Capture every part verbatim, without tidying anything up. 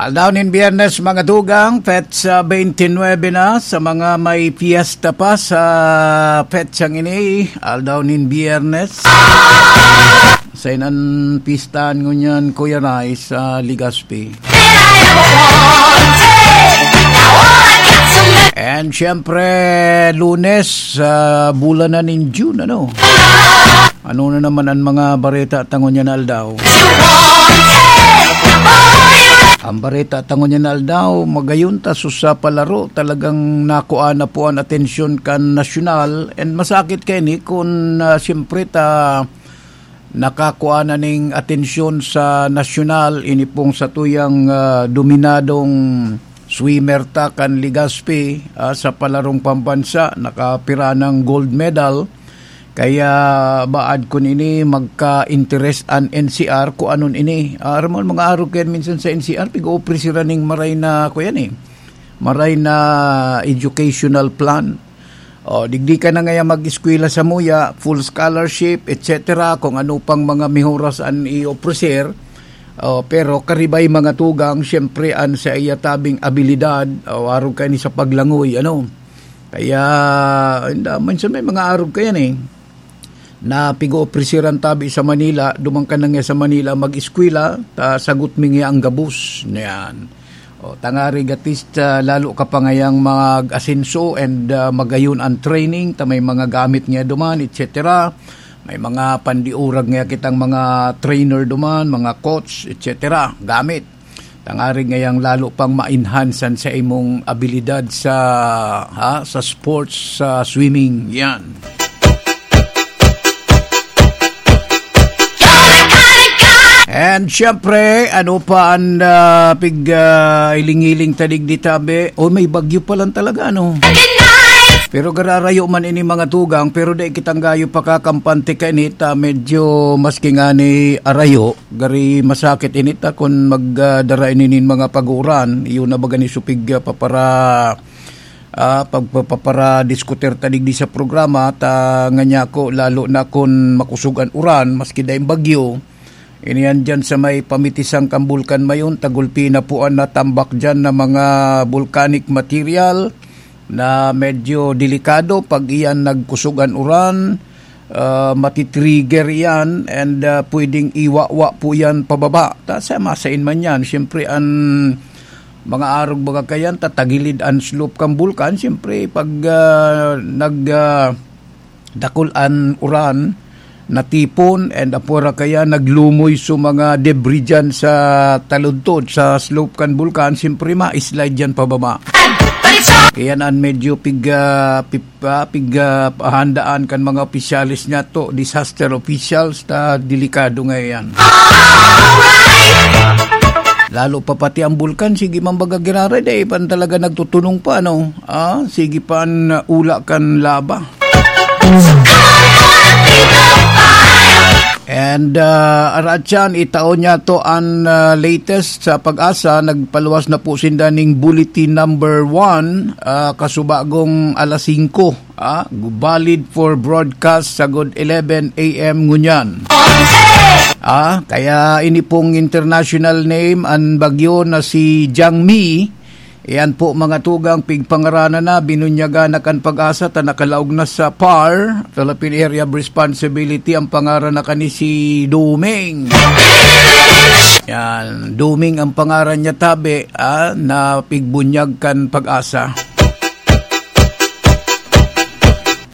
Aldaw nin Biyernes, mga tugang, petsa twenty-nine na. Sa mga may piyesta pa sa petsang ini, aldaw nin Biyernes. Sa inan pistan ngunyan, Kuya Rai, sa Legazpi. And syempre, Lunes, sa bulan na nin June, ano? Ano na naman ang mga bareta ta ngunyan na aldaw? Ang bareta ta ngunyan na aldaw, magayon ta sa palaro, talagang nakuha na po ang atensyon kan nasyonal. And masakit kaini kun, ah, siyempre ta nakakuha na ning atensyon sa nasyonal, ini pong satuyang, ah, dominadong swimmer ta kan Legazpi, ah, sa palarong pambansa, nakapira ng gold medal. Kaya baad kun ini magka-interes an N C R kung anon ini. Ah, aram mo, mga arog kayan minsan sa N C R, pig-oopri sira ning maray na, kuyan eh, maray na educational plan. O, digdi ka na ngaya mag-eskwela sa muya, full scholarship, et cetera, kung ano pang mga mihuras an i-ofrecer. O, pero karibay mga tugang, siyempre, an sa iya tabing abilidad, o, arog kaini sa paglangoy, ano. Kaya, inda, minsan may mga arog kayan eh, na pig-oopri sira tabi sa Manila, duman ka na nga sa Manila mag-eskwela, ta sagot mi nga ang gabos. Yan. O, tangari gatis, ah, lalo ka pa ngayang mag-asenso and, ah, magayon ang training, ta may mga gamit nga duman, et cetera. May mga pandiurag nga kitang mga trainer duman, mga coach, et cetera. Gamit. Tangari ngayang lalo pang ma-enhance an sa imong abilidad sa, ha, sa sports, sa swimming. Yan. And syempre, ano pa ang, ah, pig, ah, iling-iling ta digdi tabi? O, may bagyo pa lang talaga, ano? Pero gararayo man ini mga tugang, pero dai kitang gayo pakakampante kainit, ah, medyo maski ngani arayo, gari masakit ini ta kun mag, ah, dara ini nin mga pag-uuran, iyo na baga ni supig, ah, papara-, ah, pagpa-, paparadiskutir ta digdi sa programa, ta nganyan ko, lalo na kun makusog an uran, maski daing bagyo, ini yan dyan sa may pamitisan kan Bulkan Mayon, tagulpi na po an natambak dyan na mga volcanic material na medyo delikado pag iyan nagkusog an uran, ah, matitrigger iyan and, ah, pwedeng iwawa po yan pababa. Ta sa masain man yan, siyempre an mga arog baga kayan, tatagilid an slope kan bulkan, siyempre pag, ah, nag, ah, dakul an uran, natipon, and apwera kaya naglumoy so mga debris dyan sa taludtod, sa slope kan bulkan, siyempre ma-slide dyan pababa. Kaya naan medyo pig, ah, pip-, ah, pig, ah, pahandaan kan mga opisyales niya to, disaster officials, ta delikado nga yan. Lalo pa pati ang bulkan, sige man baga giraray, dai pa talaga nagtutunong pa, no? Ah, sige pa an, ah, ula kan laba. And, ah, araat siyan, itao niya to an, ah, latest sa PAGASA. Nagpaluwas na po sinda ning bulletin number one, ah, kasubagong alas singko, ah, valid for broadcast sagod eleven A M ngunyan. Ah, kaya ini pong international name, an bagyo na si Jangmi, Iyan po, mga tugang, pigpangaranan na, binunyagan na kan PAGASA ta nakalaog na sa PAR, Philippine Area of Responsibility, ang pangaran na kani si Duming. Yan, Duming ang pangaran niya, tabi, ah, na pigbunyag kan PAGASA.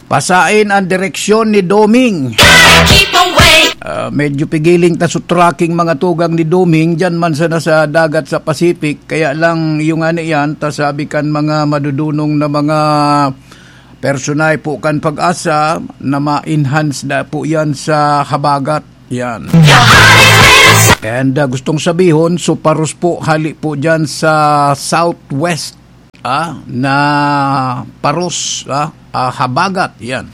Pasain ang direksyon ni Doming. Keep away. Ah, medyo pigiling ta sa tracking, mga tugang, ni Doming, dyan man sana sa dagat sa Pacific. Kaya lang, yung ano yan, ta sabi kan mga madudunong na mga personahe po kan PAGASA na ma-enhance na po yan sa habagat. Yan. And, ah, gustong sabihon, so paros po, hali po dyan sa southwest, ah, na paros, ah, ah, habagat, yan.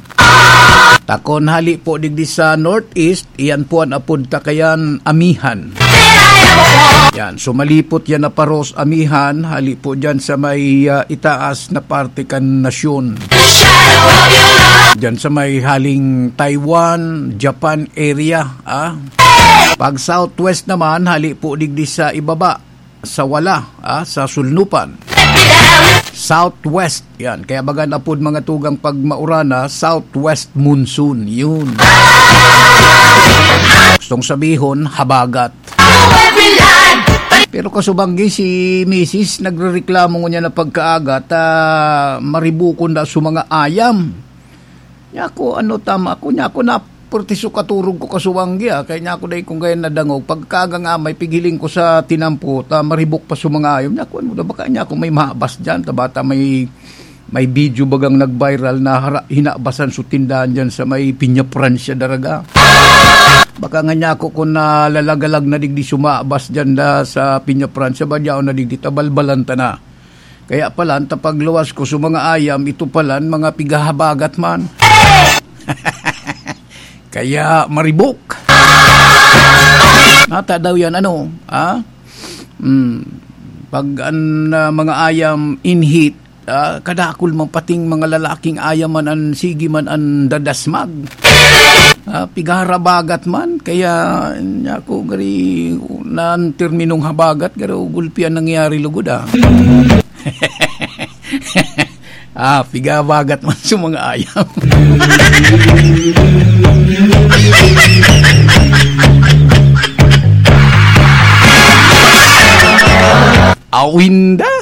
Takon hali po digdi sa northeast, iyan po an apod ta kayan amihan. Yan, so malipot yan na paros amihan, hali po dyan sa may, ah, itaas na parte kan nasyon. Dyan sa may haling Taiwan, Japan area, ah. Pag southwest naman, hali po digdi sa ibaba. sa wala, ah, sa Sulnupan. Southwest, yan. Kaya baga napod mga tugang pag maurana, southwest monsoon. Yun. Gustong sabihon, habagat. Pero kasubanggi si misis, nagrereklamo ngunyan na pagkaaga, ta maribukon na sa mga ayam. Nya ako, ano, tama ako, nya ako na purtiso katurog ko kasubanggi, ah. Kaya nya ako dai kung gaya nadangog. Pagkaaga nga may pighiling ko sa tinampo, ta maribok pa sa mga ayam. Nya ako, ano, baka nya ako may mahabas dyan, ta bata may, may video bagang nag-viral na hara-, hinabasan sa tindahan dyan sa may Pinya Francia, Daraga. Baka nga nya ako kung nalalagalag na digdi sumabas dyan da sa Pinya Francia, ba dyan na digdi, tabalbalan ta na. Kaya pala, ang tapagluwas ko sa mga ayam, ito pala, mga pigahabagat man. Kaya maribok. Nata daw yan, ano, ha? Hmm. Pag ang, ah, mga ayam in heat, ah, kadakul man pating mga lalaking ayam man an sige man an dadasmag. Ah, pigaharabagat man, kaya nya ako gari nan terminong habagat, garo gulpi an nangyari lugod, ah. Ah, pigabagat man sa mga ayam. Awinda?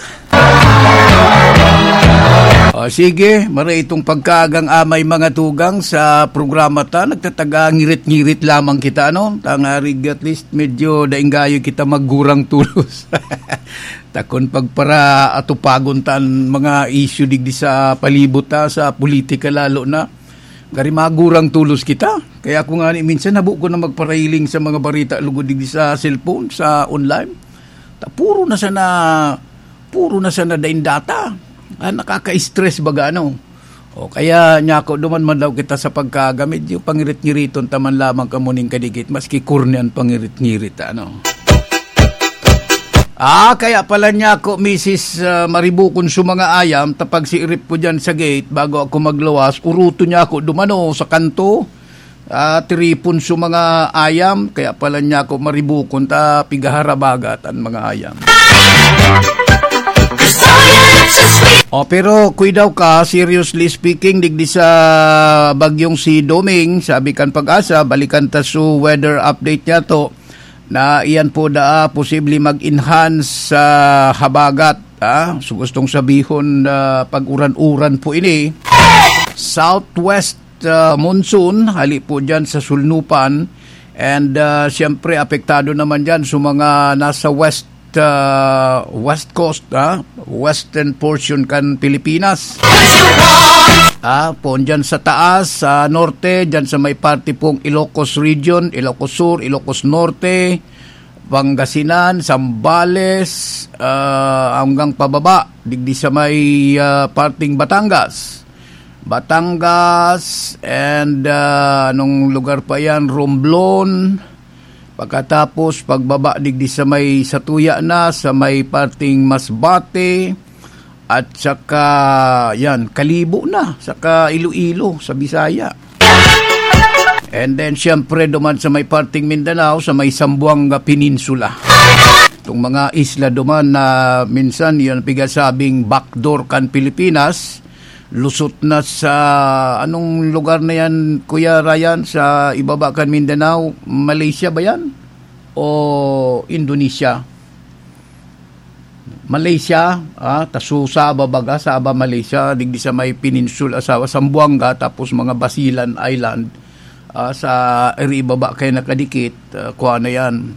O sige, mara itong pagkaagang amay mga tugang sa programa ta, nagtataga ngirit-ngirit lamang kita, ano? Tangarig at least medyo daing gayo kita maggurang tulos. Takon pagpara atupagon ta an mga issue digdi sa palibot ta, sa politika lalo na. Gari magurang tulos kita. Kaya ako nga ni minsan habo ko na magparahiling sa mga barita lugod digdi sa cellphone, sa online. Ta puro na sana, puro na sana daing data. Ah, nakaka-stress baga, ano. O kaya, nya ako, duman man daw kita sa pagkaga, medyo pangirit-ngiriton ta man lamang kamo ning kadikit, maski korne an pangirit-ngirit, ano. Ah, kaya pala nya ako, misis, ah, maribukon sa mga ayam, ta pagsiirip ko dyan sa gate, bago ako magluwas, uruto nya ako dumano sa kanto, ah, tiripon sa mga ayam, kaya pala nya ako maribukon, ta pigaharabagat an mga ayam. O, pero kuidaw ka, seriously speaking, digdi sa bagyong si Doming, sabi kan Pag-asa, balikan ta su weather update niya to, na iyan po daa posible mag-enhance sa habagat, ah. So, gustong sabihon na pag-uran-uran po ini. Southwest, ah, monsoon, hali po dyan sa Sulnupan. And, ah, siyempre, apektado naman dyan sa mga nasa west, ah, west coast, ah, western portion kan Pilipinas. Ah, poon dyan sa taas, sa norte, dyan sa may parte pong Ilocos Region, Ilocos Sur, Ilocos Norte, Pangasinan, Zambales, ah, hanggang pababa, digdi sa may, ah, parting Batangas. Batangas, and, ah, anong lugar pa yan? Romblon. Pagkatapos, pagbaba digdi sa may satuya na, sa may parting Masbate, at saka, yan, Kalibo na, saka Iloilo, sa Bisaya. And then, siyempre, duman sa may parting Mindanao, sa may Zamboanga Peninsula. Itong mga isla duman na minsan, yan, pigasabing backdoor kan Pilipinas, lusot na sa, anong lugar na yan, Kuya Ryan, sa ibaba kan Mindanao? Malaysia ba yan? O Indonesia? Malaysia, ah, ta su Sabah baga, Sabah, Malaysia, digdi sa may peninsula, sa Zamboanga, tapos mga Basilan Island, ah, sa iri ibaba kaya nakadikit, ah, kuha na yan,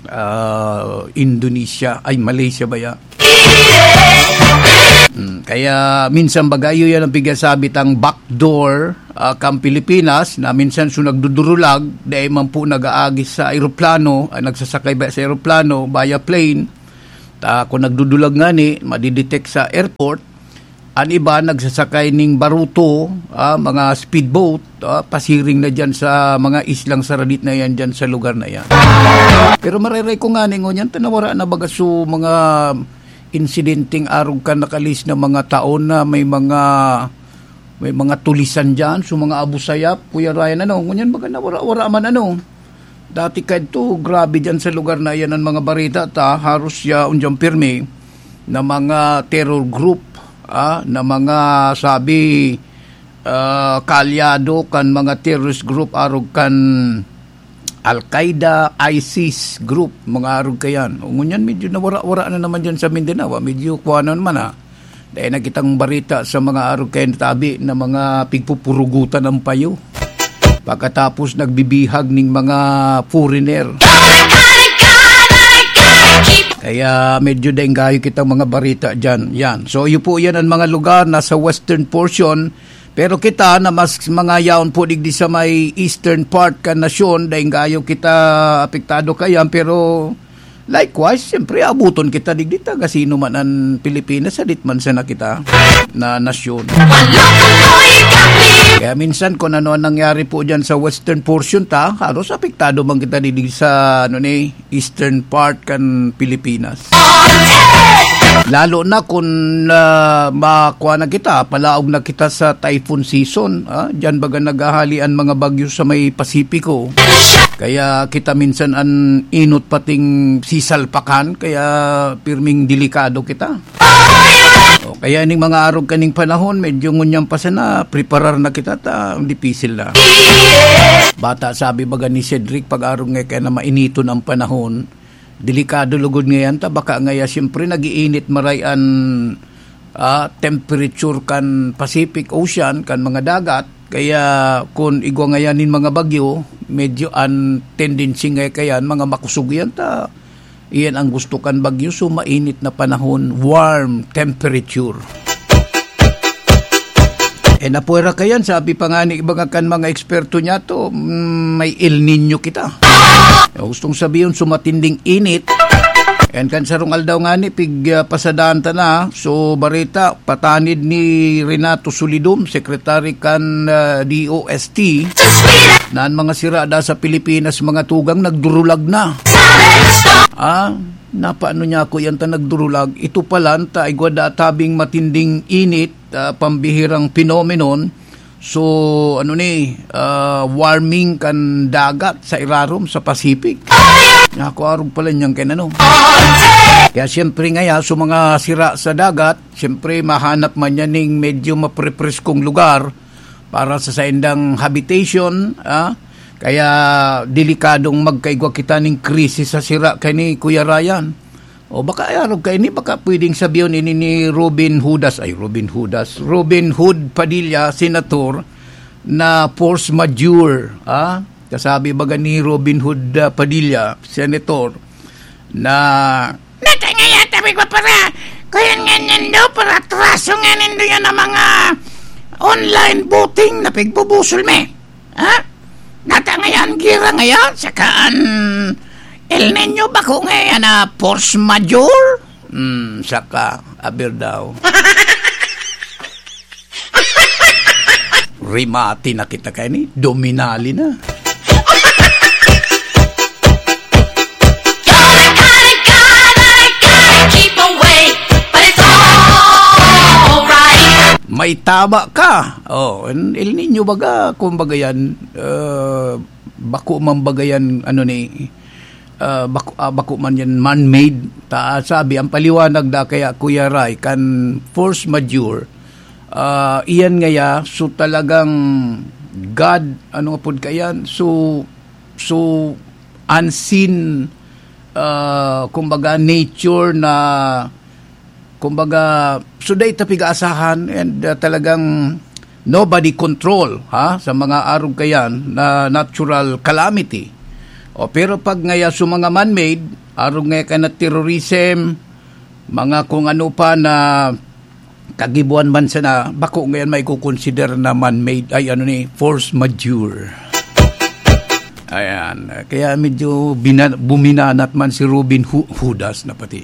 ah, Indonesia, ay, Malaysia ba ya? Hmm, kaya minsan baga iyo yan ang pigasabi tang backdoor, ah, kang Pilipinas, na minsan su nagdudurulag, dai man po nag-aagi sa eroplano, ah, nagsasakay ba sa eroplano, via plane, Ta kung nagdudulag ngani, madidetect sa airport, an iba nagsasakay ning baruto, ah, mga speedboat, ah, pasiring na diyan sa mga islang saradit na yan diyan sa lugar na yan. Pero mareray ko ngani ngunyan, ta nawara na baga su mga insidenteng arog kan nakalis na mga taon na may mga, may mga tulisan diyan, su mga Abu Sayyaf, Kuya Ryan, ano, ngunyan baga nawara-wara man, ano. Dati kadto, grabe diyan sa lugar na iyan ang mga bareta ta, haros siya unjang pirmi na mga terror group, ah, na mga sabi, ah, kaalyado kan mga terrorist group, arog kan Al-Qaeda, ISIS group, mga arog kayan. O ngunyan, medyo nawara-wara na naman diyan sa Mindanao, ah. Medyo kuha na naman, ah. Dahil nakitang bareta sa mga arog kayan tabi na mga pigpupurugutan ang payo. Pagkatapos nagbibihag ning mga foreigner. Kaya medyo daing gayo kitang mga bareta dyan. Yan. So, iyo po yan ang mga lugar na sa western portion. Pero kita na mas mga yaon po digdi sa may eastern part kan nasyon, daing gayo kita apektado kayan. Pero likewise, siyempre, abuton kita digdi ta, gasino man an Pilipinas, sadit man sana kita na nasyon. Kaya minsan, kung ano ang nangyari po dyan sa western portion ta, haros apektado man kita digdi sa, ano ni, eastern part kan Pilipinas. Lalo na kung, ah, makuha na kita, palaog na kita sa typhoon season, ah, dyan baga naghahali ang mga bagyo sa may Pasipiko. Kaya kita minsan an inot pating sisalpakan, kaya pirming delikado kita. O, kaya ning mga arog kaning panahon, medyo ngunyan pa sana, preparar na kita ta, dipisil na. Bata sabi baga ni Cedric, pag arog nga kaya na mainiton ang panahon, delikado lugod ngayan ta, baka ngaya siyempre nag-iinit maray an, ah, temperature kan Pacific Ocean, kan mga dagat. Kaya kun igwa ngayan nin mga bagyo, medyo an tendency nga kayan, mga makusog yan ta. Iyan ang gusto kan bagyo, so mainit na panahon, warm temperature. Eh, napwera kayan, sabi pa nga ni iba nga kan mga eksperto niya to, mm, may El Niño kita. Gustong sabihin, sumatinding init. And kan sarong aldaw nga ni, pig, ah, pasadaan ta na. So, bareta, patanid ni Renato Solidum, secretary kan, ah, D O S T, na an mga sira da sa Pilipinas, mga tugang, nagdurulag na. Ah, napaano niya ako yan ta nagdurulag? Ito pala, ta igwa da tabing matinding init, ah, pambihirang phenomenon. So, ano ni, ah, warming kan dagat sa irarom, sa Pacific. Nakuarog pala niyang kay ano. Kaya siyempre ngaya, so mga sira sa dagat, siyempre mahanap man niya ning medyo maprepreskong lugar para sa saindang habitation, ah. Kaya delikadong magkaigwa kita ning krisis sa sira kay ni Kuya Ryan. O baka arog kaini, baka pwedeng sabihon ini ni Robin Hudas, ay, Robin Hudas, Robin Hood Padilla, senator, na force majeure, ah? Kasabi baga ni Robin Hood, ah, Padilla, senator, na, "Nata nga yata, may para, kaya nga nindo, para atraso nga nindo yan ang mga online voting na pigbubusol mi." Ha? Nata ngayan, gira ngayan, saka an El Niño, bako ngayan na force majeure? Hmm, saka, aber daw. Rimati na kita kay ni, dominali na. May tama ka. Oh, El Niño baga, kumbaga yan, uh, bako man baga yan, ano ni, ah, bako, ah, bako man yan man-made. Ta, sabi, ang paliwanag da kaya, Kuya Ray, kan force majeure, ah, iyan ngaya, so talagang God, ano nga pod kayan? So, so unseen, ah, kumbaga, nature na, kumbaga, so dai ta pig-aasahan and, ah, talagang nobody control, ha, sa mga arog kayan na natural calamity. O, pero pag ngaya sa mga man-made, arog ngaya ka na terrorism, mga kung ano pa na kagibuan man sana, bako ngayon may kukonsider na man-made, ay ano ni, force majeure. Ayan. Kaya medyo bina-, buminanat man si Robin Hu-, Hudas na pati.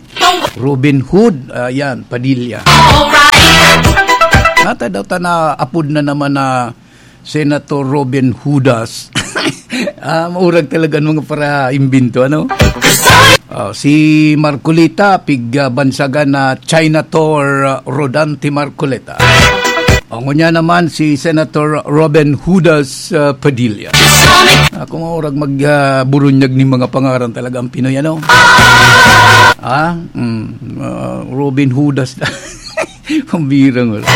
Robin Hood, ayan, Padilla. Nata daw ta na apod na naman na Senator Robin Hudas. Ah, maurag talaga ang mga para imbento, ano? Ah, si Marcoleta, pig, ah, bansagan na China Tour, ah, Rodante Marcoleta. Ngunyan naman si Senator Robin Hudas, ah, Padilla. Ako maurag mag, ah, burunyag ning mga pangaran talaga ang Pinoy, ano? Ah, mm, ah, Robin Hudas. Pambirang wala.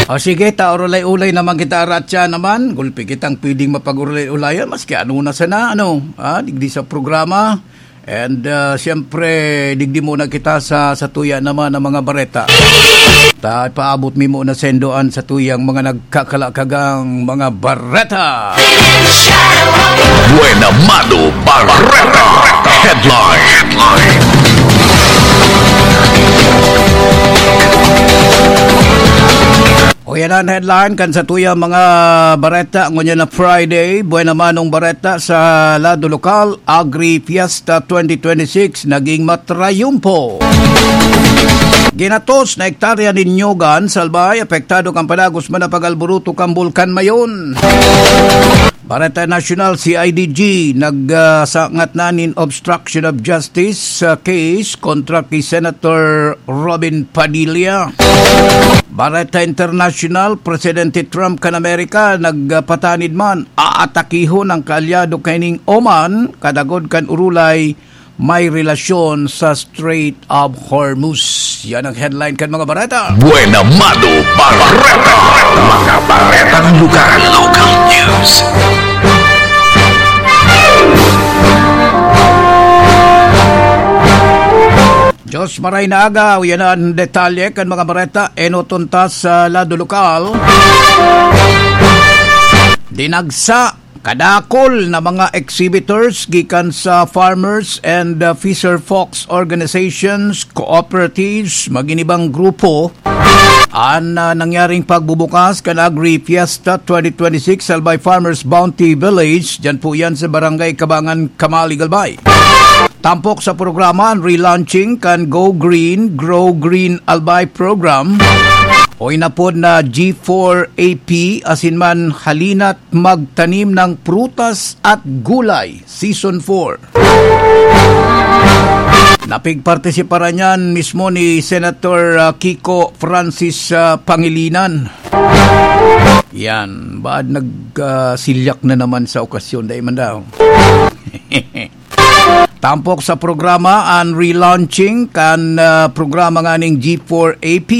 O sige, ta, orolay-olay naman kita, aratya naman. Gulpi kitang pwedeng mapag-orolay-olayan, maski ano na sana, ano, ah, digdi sa programa. And, ah, siyempre, digdi muna kita sa, sa tuya naman ng mga bareta. Ta, paabot mi muna sendoan sa tuyang mga nagkakalakagang mga bareta. Buena Mano Bareta Headline. O yan ang headline kan sa tuyang mga bareta ngunyan na Friday. Buena Manong Bareta sa lado lokal, Agri Fiesta twenty twenty-six naging matrayumpo. Ginatos na hektarya nin Nyogan, Salbay, apektado kan padagos man na pag-alburuto kan Bulkan Mayon. Bareta Nasyonal, C I D G, nagsangat na nin obstruction of justice sa case kontra ki Senator Robin Padilla. Bareta International, Presidente Trump kan Amerika nagpatanid man, aatakihon ang kaalyado kaining Oman, kadagod kan urulay may relasyon sa Strait of Hormuz. Yan ang headline kan mga bareta. Buena Mano Bareta. Mga baretang lugar. Local news. Diyos maray na aga, yan ang detalye kan mga bareta. Enoton ta sa lado lokal. Dinagsa kadakol na mga exhibitors gikan sa farmers and, uh, fisher folks organizations, cooperatives, magin ibang grupo. An, uh, nangyaring pagbubukas kan Agri Fiesta twenty twenty-six Albay Farmers Bounty Village, dyan po yan sa Barangay Kabangan, Kamalig, Albay. Tampok sa programa an relaunching kan Go Green, Grow Green Albay Program, o inapod na G four A P, asin man Halina't Magtanim ng Prutas at Gulay, Season four. Napigpartisiparan niyan mismo ni Senator, ah, Kiko Francis, ah, Pangilinan. Yan, baad nag, ah, silyak na naman sa okasyon, dai man daw. Tampok sa programa an relaunching kan, ah, programa nganing G four A P,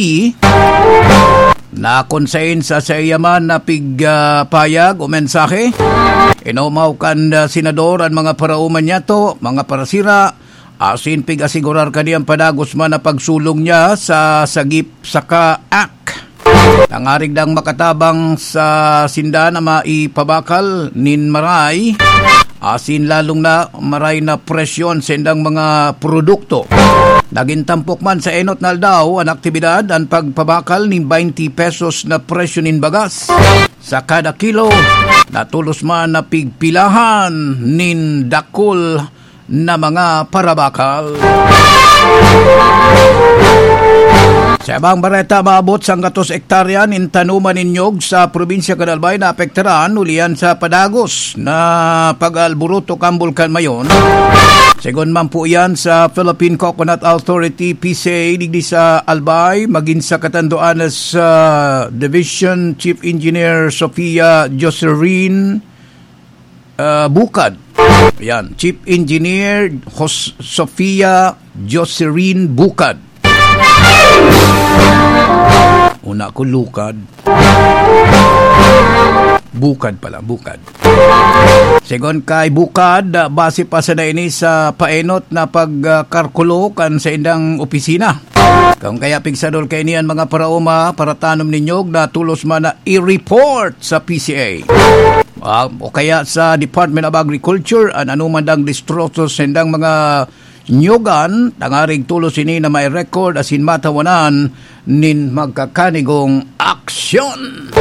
na kun sain sa saiya man na pig, ah, payag o mensahe, inomaw kan, ah, senador an mga paraoma niyato, mga parasira, asin pig-asigurar kani an padagos man na pagsulong niya sa Sagip Saka Act. Tangarig dang makatabang sa sinda na maipabakal nin maray, asin lalong na maray na presyo an saindang mga produkto. Nagin tampok man sa enot na aldaw an aktibidad, an pagpabakal nin baynti pesos na presyo nin bagas sa kada kilo, na tolos man na pigpilahan nin dakul na mga parabakal. Sa ibang bareta, maabot sanggatos hektarya nin tanuman nin nyog sa probinsya kan Albay na apektaran huli yan sa padagos na pag-aalburuto kan Bulkan Mayon. Segun man po yan sa Philippine Coconut Authority, P C A, digdi sa Albay, magin sa Catanduanes, ah, Division Chief Engineer Sofia Joserin, ah, Bukad. Yan, Chief Engineer Jos-, Sofia Joserin Bukad. Una ko, lukad. Bukad pala, Bukad. Segun kay Bukad, ah, base pa sana ini sa paenot na pag, ah, karkulo kan saindang opisina. Kung kaya pigsadol kaini an mga paraoma, paratanom nin nyog, na tolos man na i-report sa P C A. Ah, o kaya sa Department of Agriculture, an anoman dang destroso sa saindang mga nyogan, tangarig tolos ini na mai-record asin matawanan nin magkakanigong aksyon.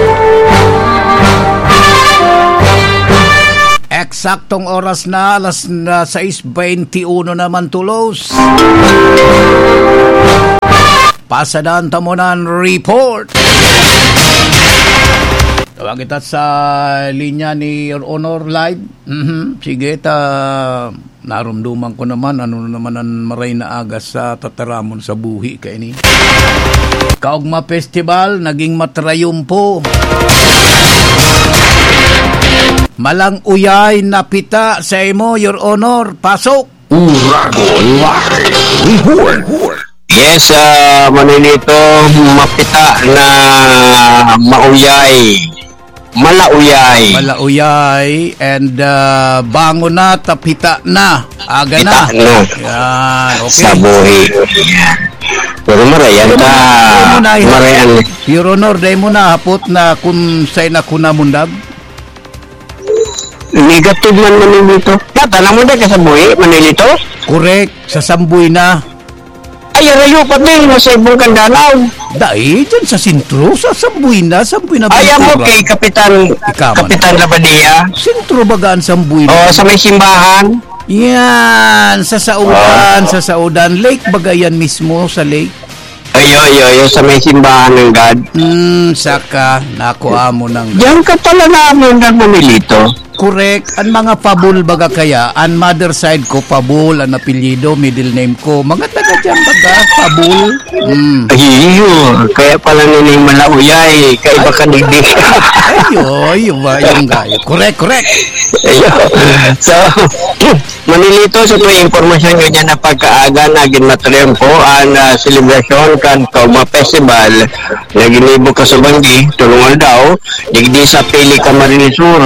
Eksaktong oras na, alas na sais beinti uno naman tolos. Pasadan ta muna an report. Tawag kita sa linya ni Your Honor live. Mhm. Sige, ta Narumduman ko naman, ano na naman an maray na aga sa tataramon sa buhi kaini. Kaugma Festival, naging matrayumpo. Malang uyay na pita sa imo, Your Honor. Pasok! Uragon Live Report. Yes, ah, Manolito, mapita na mauyay. Malauyay. Malauyay and, ah, bangon na, tapita na. Aga na. Pita na. Yan, okay. Sa buhi. Yan. Pero marayan Dai mo ta. na, dai mo na, Marayan. Your Honor, dai mo na hapot na kung saan ako namundag? Negative man, Manolito. Tata, namundag ka sa buhi, Manolito? Correct, sa Sambuy na. Ay, arayo pa din, nasa ibong Kandanaw. Dai, dyan sa sentro, sa Sambuy na, Sambuy na Ay, amo Ventura. kay Kapitan, Ikaw man. Kapitan Labadia. Sentro baga ang Sambuy na? Oo, sa may simbahan. Yan, sa Saudan, Ah. sa Saudan. Lake baga yan mismo, sa lake? Ayo, ayo, ayo, sa may simbahan ng God. Hmm, saka, naku, amo ng Diyan ka pala namin na Manolito. Correct. An mga Pabul baga kaya, an mother side ko, Pabul, an apelyido, middle name ko. Mga taga diyan baga, Pabul. Mm. Ay, iyo. Kaya pala nining malauyay. Kaiba Ay, ka digdi. Ayo, ayo ba yung gayo? Correct, correct. Ayo. So, Manolito, sa tuwing impormasyon nyo dyan na pagkaaga na ginmatrempo ang, ah, selebrasyon kan Kaugma Festival na ginibo ka sa Banggi, tulong aldaw, digdi sa Pili Camarines Sur.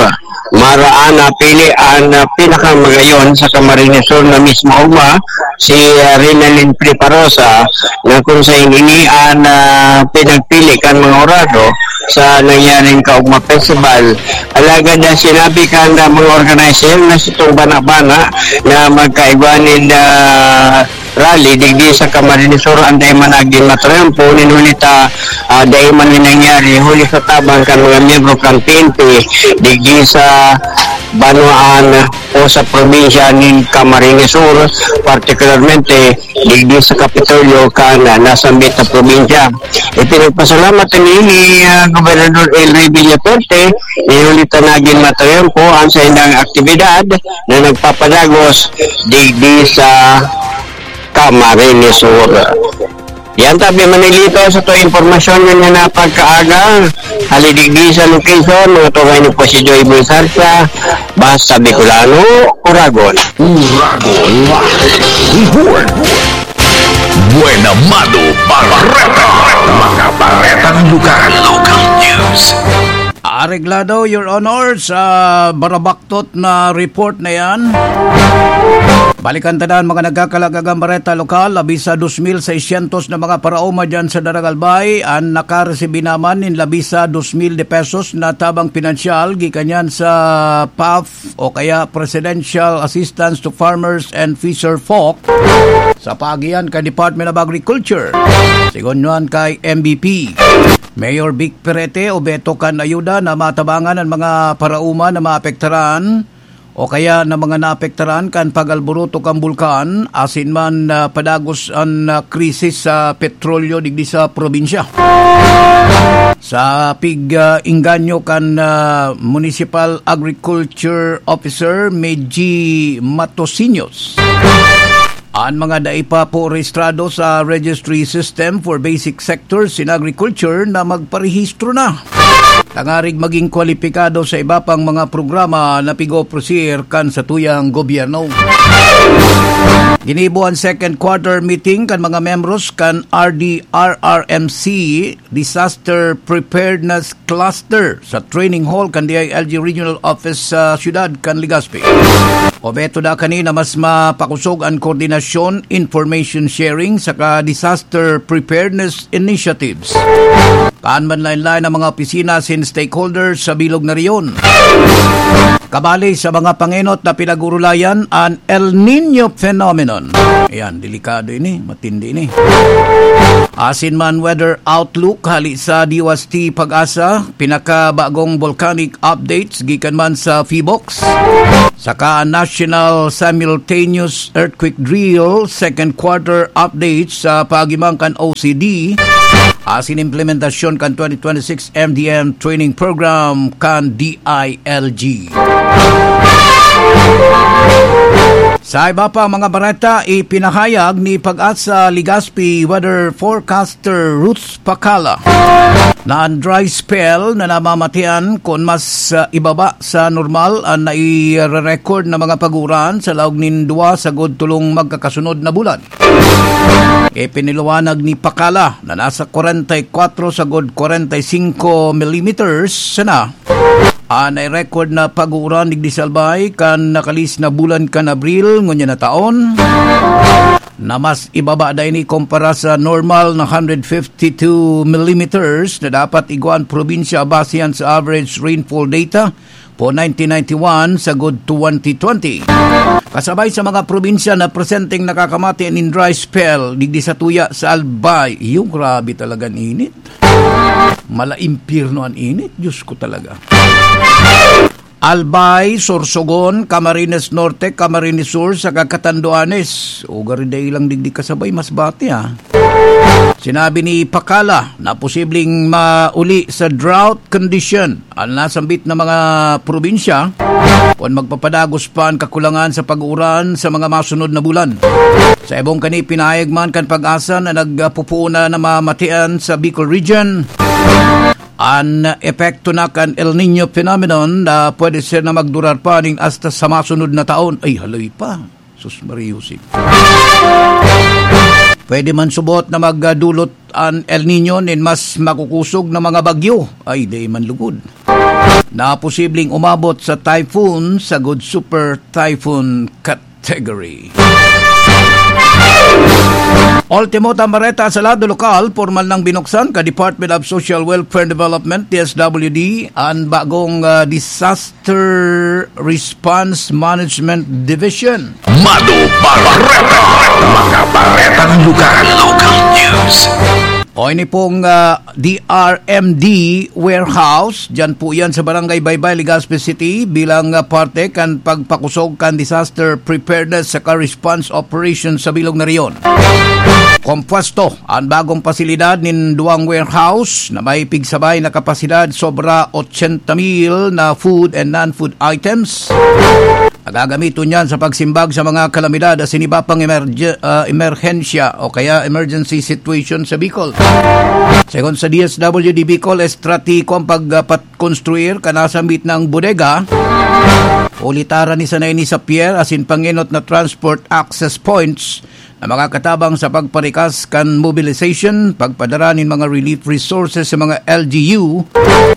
Maraan na pili ang, ah, pinakamagayon sa Camarines Sur na mismo ugma, si, ah, Renalyn Triparosa, na kung sa ini ang, ah, pinagpili kan mga orado sa nangyaring Kaugma Festival. Alagad na sinabi kan, ah, mga organizer na sitong bana-bana na magkaigwa nin, ah, rally digdi sa Camarines Sur, ang dai man nagin matrempo, nin huli ta, ah, dai man ni nangyari, huli sa tabang kan mga miyembro kan P N P, digdi sa banwaan o sa probinsya nin Camarines Sur, partikularmente digdi sa Kapitolyo kan, ah, nasambit na probinsya. Ipinagpasalamat ini ni, ah, Gobernador Elry Villafuerte, nin huli ta nagin matrempo ang saindang aktibidad na nagpapadagos digdi sa Camarines Sur. Yan tabi, Manolito, sa to impormasyon ngunyan na pagkaaga. Hali digdi sa location, mga tungay ni po si Joy Bonsarca, basta Bicolano, Uragon. Uragon Live Report. Buena Mano Bareta. Mga baretang lokal. Local news. Areglado, Your Honor, sa barabaktot na report na yan. Balikan ta dan, mga nagkakalagagang bareta lokal, labi sa dos mil seiscientos na mga paraoma dyan sa Daragalbay, an nakaresibi naman nin labi sa dos mil de pesos na tabang pinansyal gikan yan sa PAF o kaya Presidential Assistance to Farmers and Fisher Folk sa paagian kan Department of Agriculture. Sigon nuan kay M B P. Mayor Vic Perete, obheto kan ayuda na matabangan an mga paraoma na maapektaran o kaya na mga naapektaran kan pag-alboroto kan bulkan, asin man, ah, padagos an, ah, krisis sa petrolyo digdi sa probinsya. Sa pig, ah, engganyo kan, ah, Municipal Agriculture Officer Meji Matosiños. An mga dai pa po rehistrado sa Registry System for Basic Sectors in Agriculture na magparehistro na, tangarig maging kwalipikado sa iba pang mga programa na pig-oofrecer kan satuyang gobyerno. Ginibo an second quarter meeting kan mga membros kan R D R R M C Disaster Preparedness Cluster sa training hall kan D I L G Regional Office sa siyudad kan Legazpi. Obheto da kani na mas mapakosog an koordinasyon, information sharing, saka disaster preparedness initiatives kan manlaen-laen na mga opisina asin stakeholders sa bilog na rehiyon. Kabali sa mga pangenot na pinag-urulayan an El Niño phenomenon. Ayan, delikado ini, matindi ini. Asin man weather outlook hali sa D W A S T PAGASA, pinakabagong volcanic updates gikan man sa PHIVOLCS, saka National Simultaneous Earthquake Drill, second quarter updates sa paagi man kan O C D, asin implementasyon kan twenty twenty-six M D N training program kan D I L G. Sa iba pa mga bareta, ipinahayag ni Pag-asa Legazpi weather forecaster Ruth Pacala na ang dry spell na namamatian kun mas, ah, ibaba sa normal ang nai-record na mga pag-uran sa laog nin duwa sagod tolong magkakasunod na bulan. Ipinaliwanag ni Pacala na nasa kwarenta y kwatro sagod kwarenta y singko millimeters sana an nai-record na pag-uuran digdi sa Albay kan nakalihis na bulan kan Abril ngunyan na taon, na mas ibaba da ini kumpara sa normal na hundred fifty-two millimeters na dapat igwa an probinsya basihan sa average rainfall data po nineteen ninety-one sagod twenty twenty. Kasabay sa mga probinsya na presenteng nakakamati nin dry spell digdi sa tuya sa Albay. Iyo, grabe talaga an init. Mala impyerno an init, Diyos ko talaga. Albay, Sorsogon, Camarines Norte, Camarines Sur, saka Catanduanes. O, gari dai lang digdi kasabay, mas bati, ah. Sinabi ni Pacala na posibleng mauli sa drought condition an nasambit na mga probinsya kun magpapadagos pa an kakulangan sa pag-uuran sa mga masunod na bulan. Sa ibong kani, pinahayag man kan Pag-asa na nagpupuon na namamatian sa Bicol Region an epekto na kan El Niño phenomenon na pwede siya na magdurar pa ning hasta sa masunod na taon. Ay, haloy pa. Sus Maria Jose. Pwede man subot na magdulot an El Niño nin mas makukusog na mga bagyo. Ay, di man lugod. Na posibleng umabot sa typhoon, sagod super typhoon category. Ultimo tambareta sa lado lokal, pormal nang binuksan ka Department of Social Welfare and Development, D S W D, an bagong, ah, disaster Disaster Response Management Division. Mado Bareta. Mga baretang lugar. Local news. O, ini pong, ah, D R M D warehouse, dyan po yan sa Barangay Baybay, Legazpi City, bilang, ah, parte kan pagpakusog kan disaster preparedness saka response operation sa bilog na rehiyon. Kompuesto an bagong pasilidad nin duwang warehouse na may pigsabay na kapasidad sobra ochenta mil na food and non-food items. Nagagamiton niyan sa pagsimbag sa mga kalamidad asin iba pang emerge-, ah, emerhensya o kaya emergency situation sa Bicol. Segun sa D S W D Bicol, estratehiko ang pagpatkonstruir kan nasambit na bodega. Ulitaran ni sana ini sa pier asin pangenot na transport access points na makakatabang sa pagparikas kan mobilization, pagpadara nin mga relief resources sa mga L G U,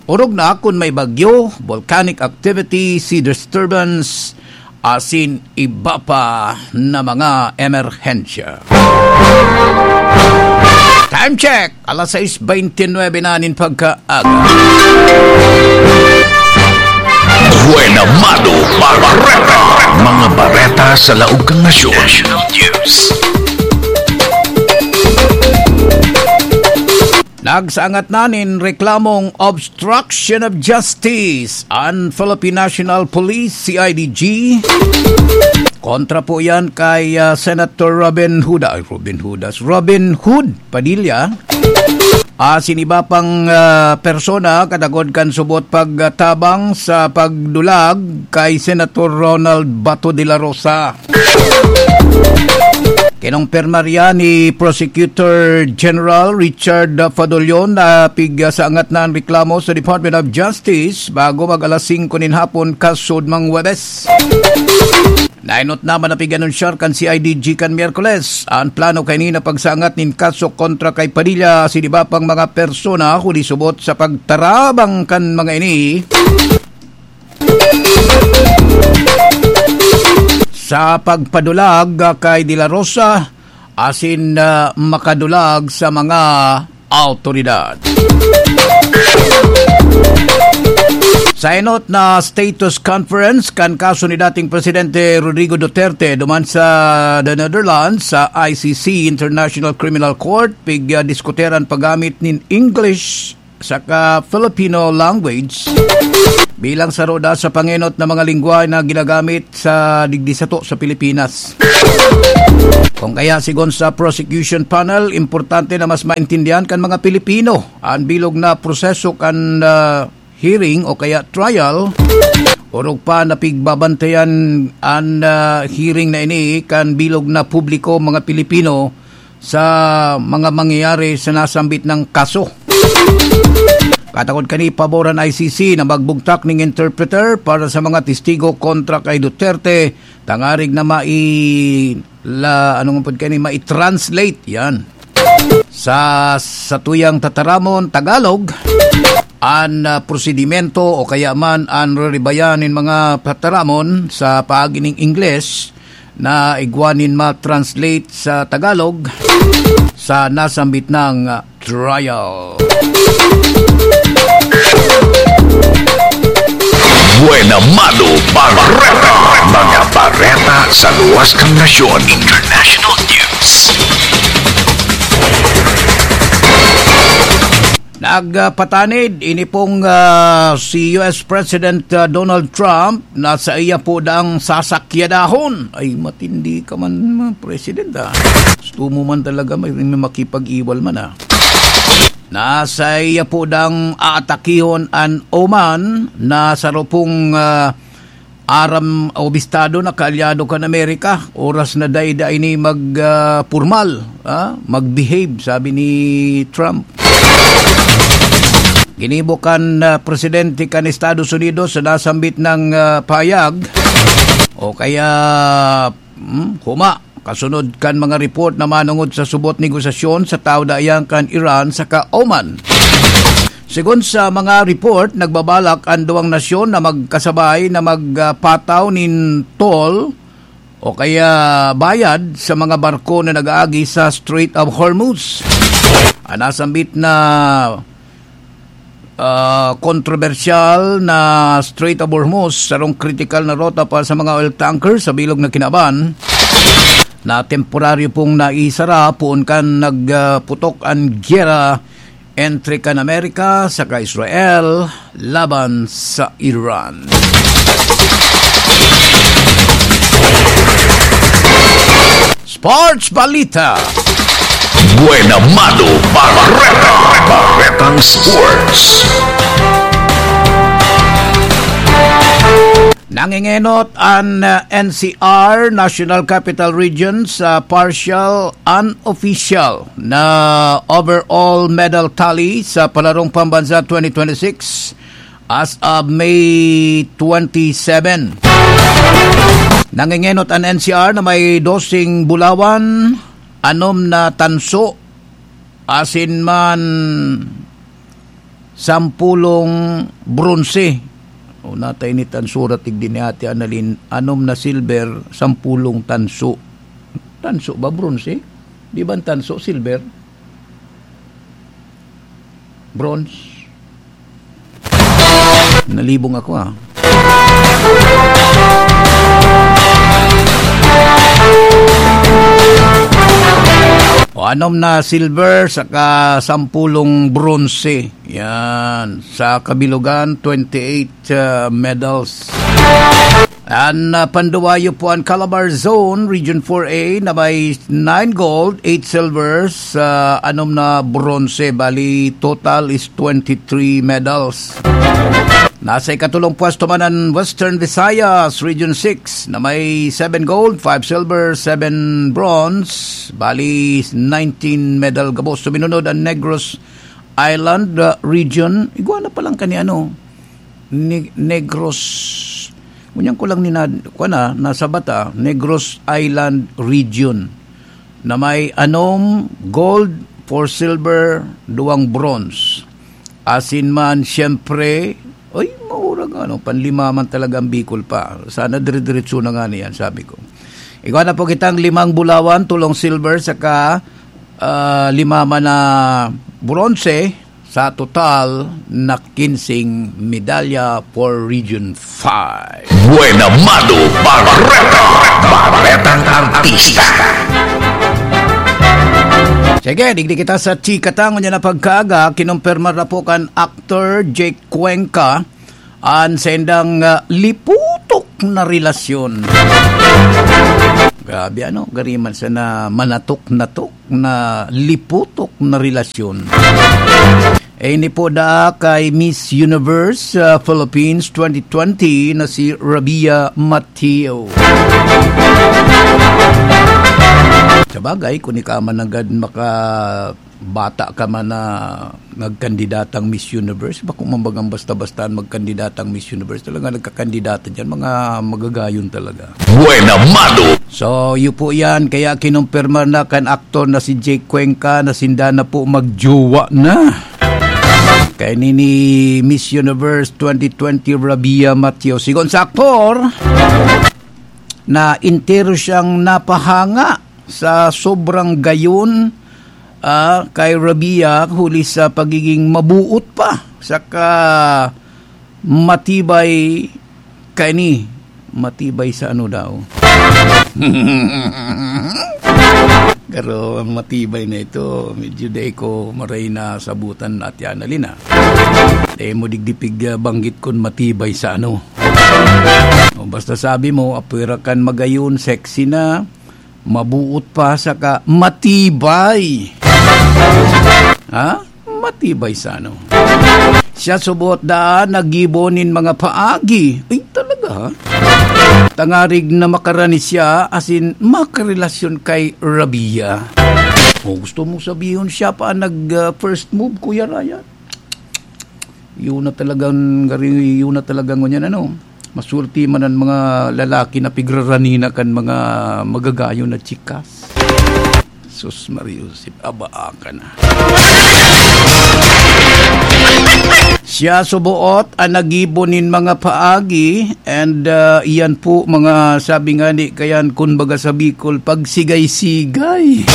orog na kun may bagyo, volcanic activity, sea disturbance, asin iba pa na mga emerhensya. Time check! Alas sais beintinuebe na nin pagkaaga. Buena Mado Bareta. Mga bareta sa laog kan nasyon. National News. Nagsaangat na nin reklamong obstruction of justice an Philippine National Police, C I D G. Kontra po yan kay, ah, Senator Robin Huda, ay, Robin Hudas, Robin Hood Padilla. Asin iba pang, ah, persona katagod kan subot pagtabang sa pagdulag kay Senator Ronald Bato de la Rosa. Kinumpirma riyan ni Prosecutor General Richard Fadolion na pigsaangat na an reklamo sa Department of Justice bago mag alas singko nin hapon kasudmang Huwebes. Naenot na man na pig-anunsyar kan C I D G kan Miyerkules an plano kaini na pagsaangat nin kaso kontra kay Padilla asin iba pang mga persona huli subot sa pagtarabang kan mga ini sa pagpadulag kay De La Rosa asin, ah, makadulag sa mga awtoridad. Sa enot na status conference kan kaso ni dating Presidente Rodrigo Duterte duman sa The Netherlands, sa I C C, International Criminal Court, pig, ah, diskuteran paggamit nin English saka Filipino language bilang saro da sa pangenot na mga lengwahe na ginagamit sa digdi sato sa Pilipinas. Kung kaya, sigon sa prosecution panel, importante na mas maintindihan kan mga Pilipino an bilog na proseso kan, ah, hearing o kaya trial Orog pa, napigbabantayan an, ah, hearing na ini kan bilog na publiko, mga Pilipino, sa mga mangyayari sa nasambit na kaso. Katakod kani, pabor an I C C na magbugtak ning interpreter para sa mga testigo kontra kay Duterte, tangarig na mai-, la, ano nga pod kani, mai-translate yan sa satuyang tataramon, Tagalog, an, ah, prosedimento o kaya man an reribayan nin mga tataramon sa paagi ning Ingles na igwa nin ma-translate sa Tagalog sa nasambit na, ah, trial. Buena Mano Bareta. Mga bareta sa luwas kan nasyon. International News. Nagpatanid ini pong, ah, si U S President, ah, Donald Trump na saiya po daang sasakyadahon. Ay, matindi ka man, ah, President, ah. Gusto mo man talaga may, may makipag-iwal man, ah. Na saiya po daang aatakihon an Oman na saro pong, ah, aram o bistado na kaalyado kan Amerika. Oras na dai-dai ini mag, ah, pormal, ah, mag-behave, sabi ni Trump. Ginibo kan, ah, presidente kan Estados Unidos sa nasambit na, ah, pahayag o kaya, hmm, huma, kasunod kan mga report na manongod sa subot negosasyon sa tawo dayan kan Iran saka Oman. Segun sa mga report, nagbabalak an duwang nasyon na magkasabay na magpataw nin toll o kaya bayad sa mga barko na nag-aagi sa Strait of Hormuz. An nasambit na, ah, kontrobersyal na Strait of Hormuz, sarong kritikal na rota para sa mga oil tanker sa bilog na kinaban, na temporaryo pong naisara poon kan nagputok an giyera entre kan Amerika saka Israel laban sa Iran. Sports Balita. Buena Mano Bareta. Baretang Sports. Nangingenot an, uh, N C R, National Capital Region, sa partial unofficial na overall medal tally sa Palarong Pambansa twenty twenty-six as of May twenty-seven. Nangingenot an N C R na may doseng bulawan, anom na tanso, asin man sampulong bronse. O, natay ni tanso, ratig din ni Ate Annalyn, anom na silver, sampulong tanso. Tanso ba, bronse? Di ba ang tanso, silver? Bronze? Nalibong ako, ah. O, anom na silver, saka sampulong bronze. Yan. Sa kabilugan, twenty-eight, uh, medals. An, uh, panduwayo po an Calabar Zone, Region four A, na may nine gold, eight silvers, uh, anom na bronze. Bali, total is twenty-three medals. Nasa ikatulong pwesto man an Western Visayas, Region six, na may seven gold, five silver, seven bronze. Bali, nineteen medal gabos. Suminunod an Negros Island, uh, region, igwa na palang kani ano, Neg-, Negros, ngunyan ko lang ninad-, kuwan na, nasa bata, Negros Island region, na may anom gold, four silver, duwang bronze. Asin man, siyempre, ay, maurag ano, panlima man talaga ang Bicol pa. Sana dire-diretso na nga niyan, sabi ko. Igwa na po kitang limang bulawan, tulong silver, saka, ah, lima man na bronze, sa total na kinsing medalya for Region five. Buena Mano Bareta, Baretang Artista. Sige, digdi kita sa chika ta ngunyan na pagkaaga, kinumpirma na po kan Actor Jake Cuenca an saindang, ah, liputok na relasyon. Grabe, ano? Gari man sana manatok-natok na liputok na relasyon. Ini po daa kay Miss Universe, ah, Philippines twenty twenty na si Rabia Mateo. Sabagay, kung ika man nanggad maka-, bata ka man na nagkandidatang Miss Universe, bako man bagang basta-basta magkandidatang Miss Universe. Talaga nagkakandidata diyan, mga magagayon talaga. Buena Mano. So, yun po yan. Kaya kinumpirma na kan aktor na si Jake Cuenca na sinda na po magjowa na. Kay nini Miss Universe twenty twenty Rabia Mateo. Sigon sa aktor, na entero siyang napahanga sa sobrang gayon, ah, kay Rabia, huli sa pagiging mabuot pa, saka matibay kani, matibay sa ano daw. Pero ang matibay na ito, medyo dai ko maray na sabutan, Ate Annalyn, ah. Dai mo digdi pig, ah, banggit kun matibay sa ano. O, basta sabi mo, apwera kan magayon, sexy na, mabuot pa, saka matibay. Ha? Matibay sa ano? Siya subot daa naggibo nin mga paagi. Ay, talaga, ha? Tangarig na makarani siya, asin makarelasyon kay Rabia. O, gusto mong sabihon siya pa ang nag, ah, first move, Kuya Ryan? Yun na talagang gari-, yun na talagang ngunyan, ano, masulti man ang mga lalaki na pigrarani na kan mga magagayon na chikas. Sus, Maria Josep, abaa ka na. Siya suboot ang nagibo nin mga paagi, and, ah, iyan po, mga sabi nga ni, kayan, kun baga sa Bicol, pagsigay-sigay.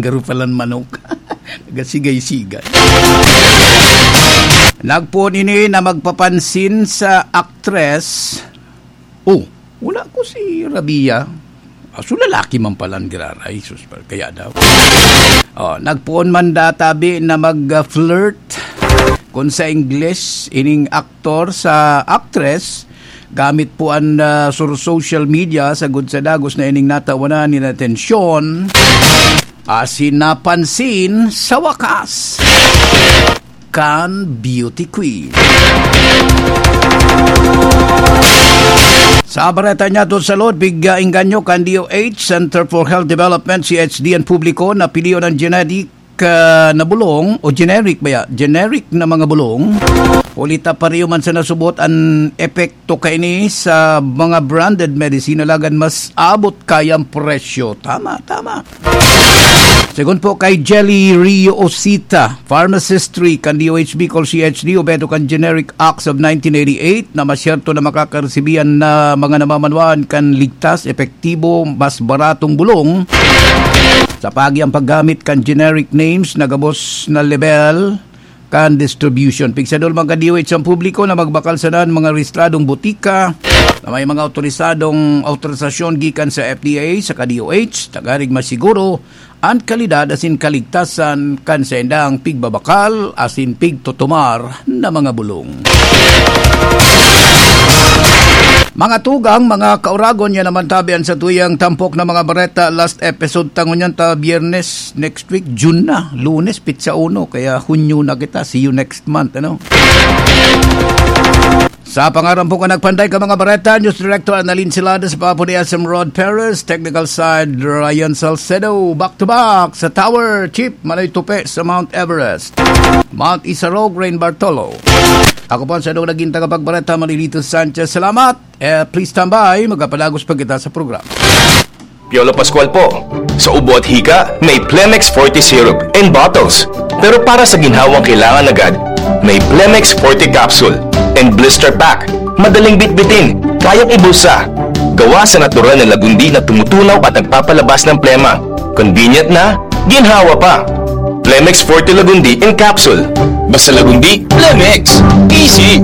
Garo palan manok. Nagpoon ini na magpapansin sa aktres. Oh, wala ko si Rabia. Ah, so lalaki man palan giraray. Sus, kaya daw. Oh, nagpoon man databi na mag-flirt. Kung sa English, ining aktor sa aktres, gamit po ang, ah, sur-, social media, sagkod sa dagos na ining natawanan nin atensyon, asin napansin sa wakas kan beauty queen. Sa bareta niya to sa Lord, bigya inganyo kan D O H, Center for Health Development, C H D, ang publiko na pilion ang genetic ah, na bulong o generic ba ya? Generic na mga bulong. Huli ta pareho man sa nasubot an epekto kaini sa mga branded medicine, alagad mas abot kaya ang presyo. Tama, tama. Segun po kay Jelly Rio Osita, Pharmacistry kan D O H B called C H D, o beto kan Generic Acts of nineteen eighty-eight, na masyerto na makakaresibi an na mga namamanwaan kan ligtas, epektibo, mas baratong bulong sa paagi ang paggamit kan generic names na gabos na level kan distribution. Pigsadol man kan D O H ang publiko na magbakal sana an mga rehistradong botika na may mga autorisadong, autorisasyon gikan sa F D A saka D O H, tangarig masiguro an kalidad asin kaligtasan kan saindang pigbabakal asin pigtutumar na mga bulong. Mga tugang, mga kauragon, yan naman tabi an satuyang tampok na mga bareta. Last episode ta ngunyan ta Biyernes, next week, June na, Lunes, petsa uno, kaya Hunyo na kita. See you next month, ano? Sa pangaran po kan nagpanday ka mga bareta, News Director Annalyn Celades, Papo ni S M Rod Perez, technical side Ryan Salcedo, back to back sa Tower, Chief Manoy Tupe sa Mount Everest, Mount Isarog, Rain Bartolo. Ako po ang sadong naging tagapagbareta, Manilito Sanchez. Salamat! Eh, please stand by, magpapadagos pa kita sa programa. Piolo Pascual po. Sa ubo at hika, may Plemex Forte Syrup in bottles. Pero para sa ginhawang kailangan agad, may Plemex Forte Capsule and Blister Pack. Madaling bitbitin, kayang ibulsa. Gawa sa natural na lagundi na tumutunaw at nagpapalabas ng plema. Convenient na, ginhawa pa. Plemex Forte Lagundi in Capsule. Basta Lagundi, Plemex. Easy!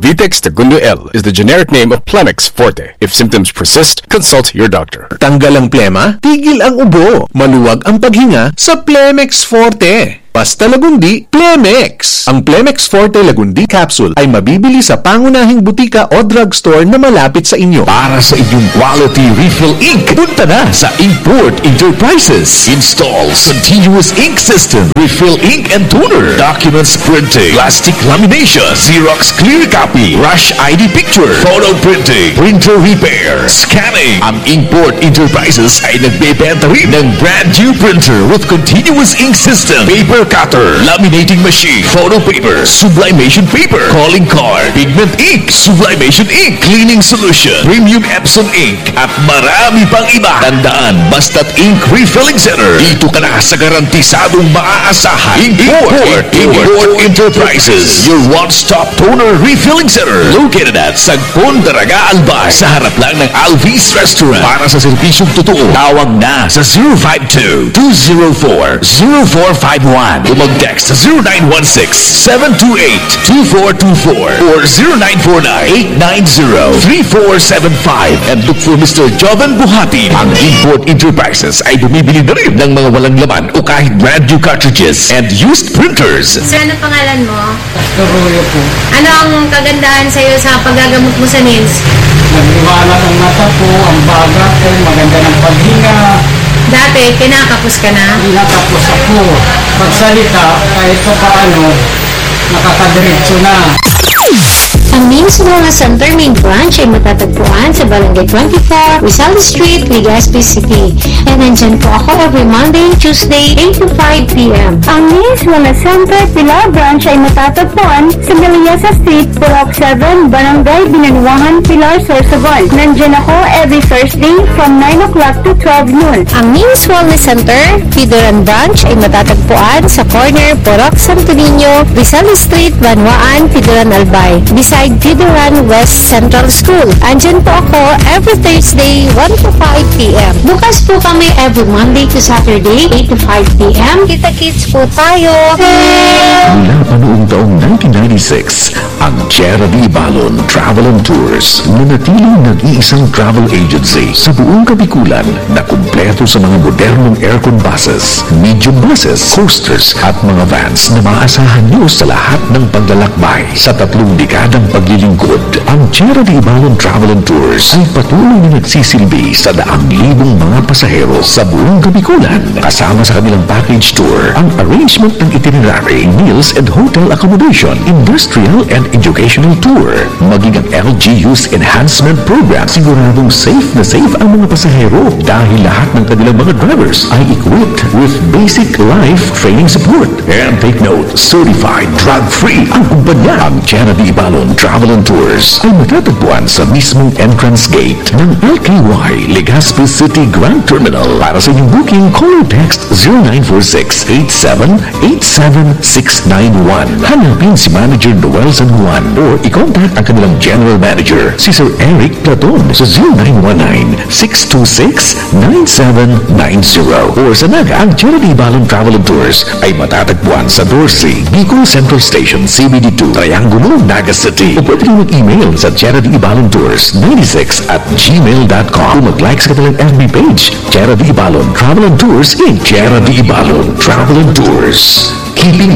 Vitex Tagundo L is the generic name of Plemex Forte. If symptoms persist, consult your doctor. Tanggal ang plema, tigil ang ubo, maluwag ang paghinga sa Plemex Forte. Basta Lagundi, Plemex! Ang Plemex Forte Lagundi Capsule ay mabibili sa pangunahing butika o drugstore na malapit sa inyo. Para sa inyong quality refill ink, punta na sa Inkport Enterprises. Installs continuous ink system, refill ink and toner, documents printing, plastic lamination, Xerox clear copy, rush I D picture, photo printing, printer repair, scanning. Ang Inkport Enterprises ay nagbebenta rin ng brand new printer with continuous ink system, paper cutter, laminating machine, photo paper, sublimation paper, calling card, pigment ink, sublimation ink, cleaning solution, premium Epson ink, at marami pang iba. Tandaan, basta't ink refilling center, dito ka na sa garantisadong maaasahan. Import, Import Enterprises, your one-stop toner refilling center. Located at Sagpon, Daraga, Albay, sa harap lang ng Alvis Restaurant. Para sa serbisyong totoo, tawag na sa zero five two, two zero four, zero four five one. O mag-text sa zero nine one six, seven two eight, two four two four or zero nine four nine, eight nine zero, three four seven five and look for Mister Joven Buhatin. Ang Import Enterprises ay bumibili na rin ng mga walang laman o kahit brand new cartridges and used printers. Sir, ano pangalan mo? Pastor Royo po. Ano ang kagandahan sa'yo sa paggagamot mo sa nails? Nagmaliwanag ang mata ko, ang baga ko, maganda ng paghinga. Dati, kinakapos ka na? Kinakapos ako. Pagsalita, kahit pa paano, nakakadiretso na. Ang Nails Wellness Center Main Branch ay matatagpuan sa Barangay twenty-four, Rizal Street, Legazpi City. And nandyan po ako every Monday, Tuesday, eight to five p m. Ang Nails Wellness Center Pilar Branch ay matatagpuan sa Meliasa Street, Purok seven, Barangay Binanuangan, Pilar, Sorsogon. Nandyan ako every Thursday from nine o'clock to twelve noon. Ang Nails Wellness Center, Pidoran Branch ay matatagpuan sa corner Purok Santo Niño, Rizal Street, Banwaan, Pidoran, Albay, beside Pidoran West Central School. Andyan po ako every Thursday, one to five p m. Bukas po kami every Monday to Saturday, eight to five p m. Kita-kits po tayo! Mula pa noong taong nineteen ninety-six, ang Tierra de Ibalon Travel and Tours nanatiling nag-iisang travel agency sa buong Kabikulan na kumpleto sa mga modernong aircon buses, medium buses, coasters at mga vans na maaasahan nyo sa lahat ng paglalakbay. Sa tatlong dekadang paglilingkod, ang Tierra de Ibalon Travel and Tours ay patuloy na nagsisilbi sa daang libong mga pasahero sa buong Kabikulan. Kasama sa kanilang package tour, ang arrangement ng itinerary, meals and hotel accommodation, industrial and educational tour, maging ang L G U's enhancement program. Siguradong safe na safe ang mga pasahero dahil lahat ng kanilang mga drivers ay equipped with basic life training support. And take note, certified drug-free ang kumpanya. Ang Tierra de Ibalon Travel and Tours ay matatagpuan sa mismong entrance gate ng L K Y Legazpi City Grand Terminal. Para sa inyong booking, call or text zero nine four six eight seven eight seven six nine one. Hanapin si Manager Noel San Juan or i-contact ang kanilang General Manager, si Sir Eric Platon, sa zero nine one nine six two six nine seven nine zero. Or sa Naga, ang Tierra de Ibalon Travel and Tours ay matatagpuan sa doce, Bicol Central Station, C B D two, Triangulo, Naga City. O pwede rin mag-email sa Tierra de Ibalon Tours ninety-six at gmail dot com. O mag-like sa kanilang F B page, Tierra de Ibalon Travel and Tours in Tierra de Ibalon Travel and Tours. Keeping